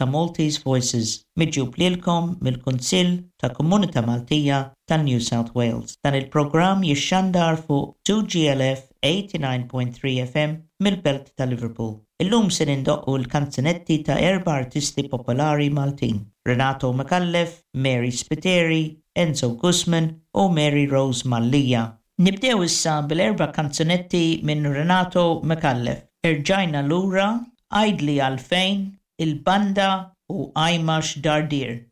ta' Maltese Voices, miġjub lilkom mill-Kunsill ta' Komunità Maltija ta' New South Wales. Dan il-programm jixxandar fuq 2GLF 89.3 FM mill-Belt ta' Liverpool. Illum se nindoqqu l-kanzunetti ta' erba' artisti popolari Maltin, Renato Micallef, Mary Spiteri, Enzo Gusman u Mary Rose Mallia. Nibdew issa bil-erba' kanzunetti minn Renato Micallef, Erġajna Lura, Għidli Għalfejn, Il-Banda u Ajma X'Dardir.